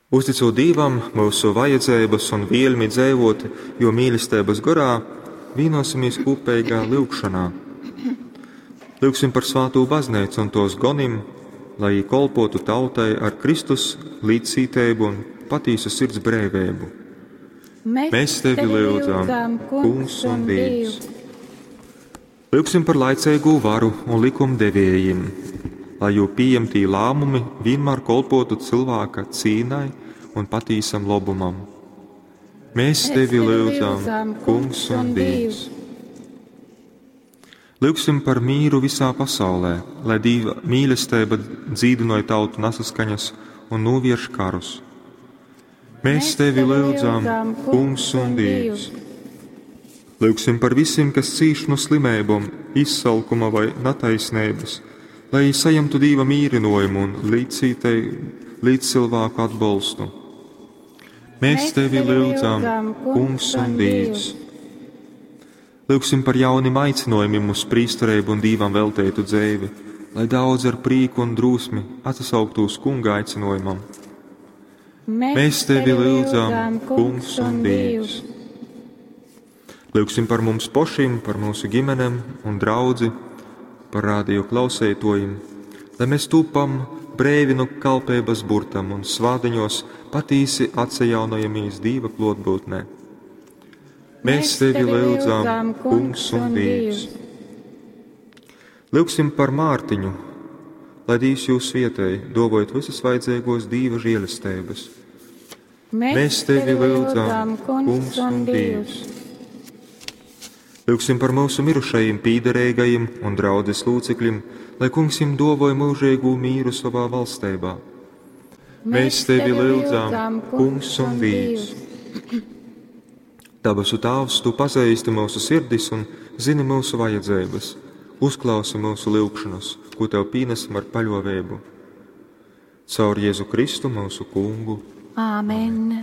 Uzticūt Dīvam myusu vajadzeibas un vēļmi dzeivot Juo mīlesteibys gorā, vīnuosimies kūpeigā lyugšonā. Lyugsim par svātū bazneicu un tuos gonim, lai jī kolpuotu tautai ar Kristus līdzcīteibu un patīsu sirds breiveibu. Mēs tevi lyudzam, Kungs un Dīvs. Lyugsim par laiceigū varu un likumdeviejim, lai jū pījemtī lāmumi vienmēr kolpotu cilvēka cīnai un patīsam lobumam. Mēs tevi lyudzam, Kungs un Dīvs. Lyugsim par mīru visā pasaulē, lai Dīva mīlesteiba dzīdinoj tautu nesaskaņas un novērš karus. Mēs tevi lyudzam, Kungs un Dīvs. Lyugsim par visiem, kas cīš no slimībām, izsalkuma vai netaisnības, lai saņemtu Dīva mīrinājumu un līdzcilvēku atbalstu. Mēs tevi lyudzam, Kungs un Dievs. Lyugsim par jauniem aicinājumiem uz prīsterību un Dīvam veltētu dzīvi, lai daudz ar prieku un drosmi atsauktos Kunga aicinājumam. Mēs tevi lyudzam, Kungs un Dievs. Lyugsim par mums pašiem, par mūsu ģimenēm un draudzi, par radio klausētojiem, lai mēs tūpam breivi no kalpības burtam un svādiņos patīsi atsajaunojamies Dīva klotbūtnē. Mēs tevi lyudzam, Kungs un Dievs. Lyugsim par Mārtiņu, lai Dievs jūs svietēj, dovojot visas vajadzīgos Dīva žēlestības. Mēs tevi lyudzam, Kungs un Dievs. Lyugsim par mūsu mirušajiem, pīderīgajiem un draudzes locekļiem, lai Kungs viņiem dovoja mūžīgu mīru savā valstībā. Mēs tevi lyudzam, Kungs un Dievs. Dabasu Tāvs, Tu pazīsti mūsu sirdis un zini mūsu vajadzības. Uzklausi mūsu lūgšanas, ko Tev pienesam ar paļāvību. Caur Jēzu Kristu mūsu Kungu. Āmen.